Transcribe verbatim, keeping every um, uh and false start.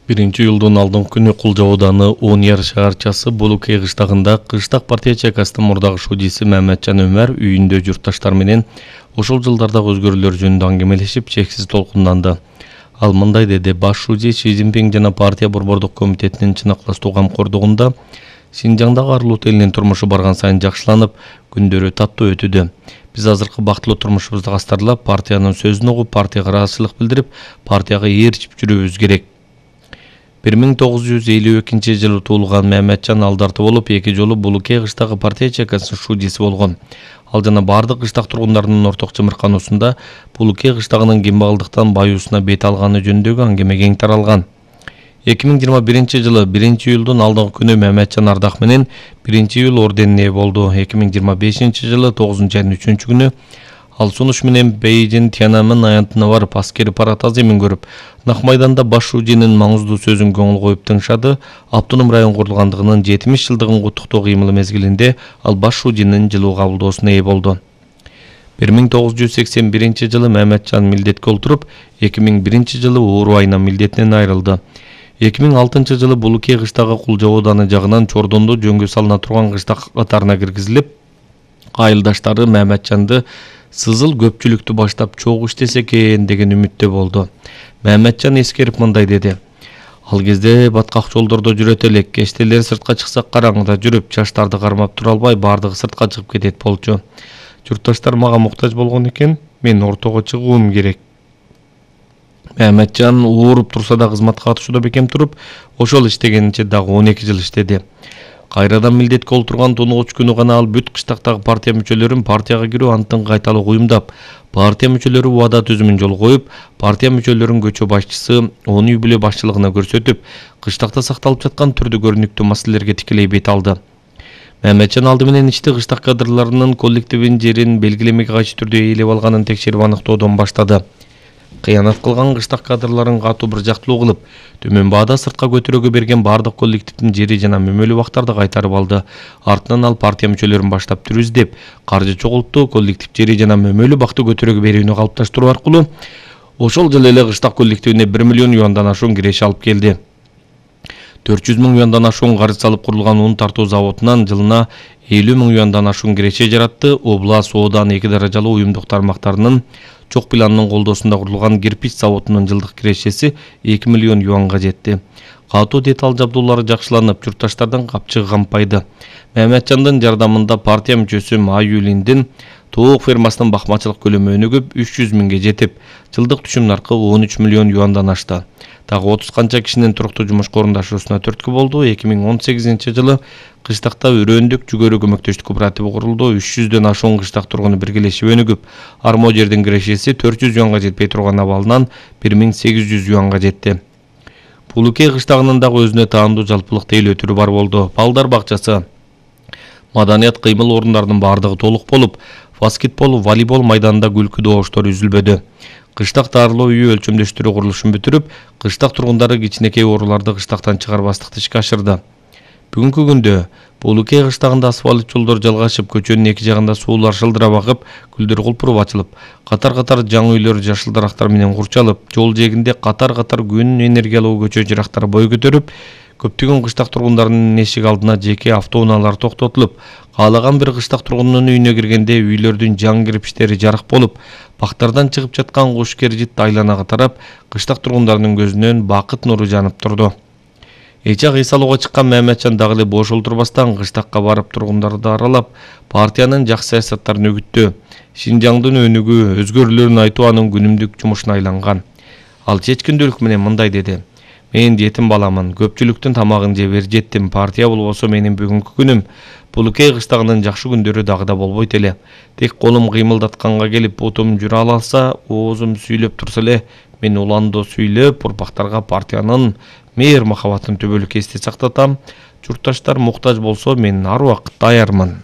Биринчи июлдун алдыңкы күнү Кулжа ауданы Ооньяр шаарчасы Булукей кыштагында кыштак партия чайкасынын мурдагы шудиси Маматжан Өмөр үйүндө журтташтар менен ошол жылдардагы өзгөрүүлөр жөнүндө аңгемелешип чексиз толкунданды. Ал мындай деди: баш шуди Си Цзиньпин жана партия борбордук комитетинин чыныктуу камкордугунда Синжаңдагы арылуу элинин турмушу барган сайын жакшыланып, күндөрү таттуу өтүүдө. Биз азыркы бактылуу турмушубузду астарлап, партиянын сөзүн угуп, партияга ыраазычылык билдирип, партияга ээрчип жүрүүбүз керек. бир миң тогуз жүз элүү экинчи жылы туулган Маматжан алдарты болуп, эки жолу Булукей кыштагы партия чайкасынын шудиси болгон. Ал жана бардык кыштак тургундарынын орток чымыркануусунда Булукей кыштагынын кембагалдыктан баюусуна бет алганы жөнүндөгү аңгеме кең таралган. эки миң жыйырма биринчи жылы биринчи июлдун алдыңкы күнү Маматжан ардак менен биринчи июл орденине ээ болду. эки миң жыйырма бешинчи жылы тогузунчу айдын үчүнчү күнү ал сунуш менен Бейжин Тяньаньмэнь аянтына барып, аскери парад аземин көрүп, Нак майданда баш шудинин маңыздуу сөзүн көңүл коюп тыңшады. Автоном район курулгандыгынын жетимиш жылдыгын куттуктоо кыймылы мезгилинде ал баш шудинин жылуу кабылдоосуна ээ болду. бир миң тогуз жүз сексен биринчи жылы Маматжан милдетке олтуруп, эки миң биринчи жылы оору айынан милдетинен айрылды. эки миң алтынчы жылы Булукей кыштагы Кулжа ауданы жагынан чордондо жөнгө салына турган кыштак катарына киргизилип, айылдаштары Маматжанды сызыл көпчүлүктү баштап чогуу иштесе экен деген үмүттө болду. Маматжан эскерип мындай деди: ал кезде баткак жолдордо жүрөт элек, кечтелер сыртка чыксак караңгыда жүрүп, жаштарды кармап тура албай бардыгы сыртка чыгып кетет болчу. Журтташтар мага муктаж болгон экен, мен ортого чыгуум керек. Маматжан ооруп турса да кызматка катышууда бекем туруп, ошол иштегенинче дагы он эки жыл иштеди. Кайрадан милдетке олтурган тоногуч күнү гана ал бүт кыштактагы партия мүчөлөрүн партияга кирүү антын кайталуу уюмдап, партия мүчөлөрү убада түзүмүн жолго коюп, партия мүчөлөрүн көчө башчысы он үй бүлө башчылыгына көрсөтүп, кыштакта сакталып жаткан түрдүү көрүнүктүү маселелерге тикелей бет алды. Маматжан алды менен ичти кыштак кадрларынын коллективин жерин белгилемеге кайшы түрдө ээлеп алганын текшерип аныктоодон баштады. Кыянат кылган кыштак кадрларын катуу бир жактылуу кылып, төмөн баада сыртка көтөрөгө берген бардык коллективдин жери жана мөмөлүү убактарды кайтарып алды. Артынан ал партия мүчөлөрүн баштап түрү издеп, каржы чогултту, коллектив жери жана мөмөлүү убакты көтөрөгө берүүнү калыпташтыруу аркылуу ошол жылы эле кыштак коллективине бир миллион юандан ашуун киреше алып келди. төрт жүз миң юандан ашуун каржы салып курулган ун тартуу заводунан жылына элүү миң юандан ашуун киреше жаратты. Облас, Оодан эки даражалуу уюмдук тармактарынын чок планынын колдоосунда курулган кирпич заводунун жылдык кирешеси эки миллион юанга жетти. Катуу деталь жабдуулары жакшыланып, журтташтардын капчыгы кампайды. Маматжандын жардамында партия мүчөсү Майюлиндин тоок фермасынын бакмачылык көлөмү өнүгүп, үч жүз миңге жетип, жылдык түшүм наркы он үч миллион юандан ашты. Дагы отуз канча кишинин туруктуу жумушка орундашуусуна түрткү болду. эки миң он сегизинчи жылы кыштакта өрөөндүк жүгөрү көмөктөштүк кооперативи курулду. үч жүздөн ашуун кыштак тургуну биргелешип өнүгүп, армо жердин кирешеси төрт жүз юанга жетпей турган абалынан бир миң сегиз жүз юанга жетти. Булукей кыштагынын дагы өзүнө таандуу жалпылык тейлөө түрү бар болду. Балдар бакчасы, маданият кыймыл орундарынын бардыгы толук болуп, баскетбол, волейбол майданында күлкү добуштор үзүлбөдү. Кыштак дарылоо үйү өлчөмдөштүрүү курулушун бүтүрүп, кыштак тургундары кичинекей ооруларды кыштактан чыгарбастыкты ишке ашырды. Бүгүнкү күндө Булукей кыштагында асфальт жолдор жалгашып, көчөнүн эки жагында суулар шылдырап агып, гүлдөр кулпуруп ачылып, катар-катар жаңы үйлөр жашыл дарактар менен курчалып, жол жээгинде катар-катар күн энергиялуу көчө жырактары бой көтөрүп, көптөгөн кыштак тургундарынын эшик алдына жеке автоунаалар токтотулуп, каалаган бир кыштак тургундун үйүнө киргенде үйлөрдүн жаңы кирпичтери жарык болуп, бактардан чыгып жаткан куш кержит айланага тарап, кыштак тургундарынын көзүнөн бакыт нуру жанып турду. Эчак эс алууга чыккан Маматжан дагы эле бош олтурбастан кыштакка барып тургундарды аралап, партиянын жакшы саясаттарын үгүттөө, Синжаңдын өнүгүү, өзгөрүүлөрүн айтуу анын күнүмдүк жумушуна айланган. Ал чечкиндүүлүк менен мындай деди: мен жетим баламын, көпчүлүктүн тамагын жеп эржеттим, партия болбосо менин бүгүнкү күнүм, Булукей кыштагынын жакшы күндөрү дагы да болбойт эле. Тек колум кыймылдатканга келип, бутум жүрө алса, оозум сүйлөп турса эле, мен уландоо сүйлөп, урпактарга партиянын мээр махабатын түбөлүк эсте сактатам. Журтташтар муктаж болсо, мен ар убакыт даярмын.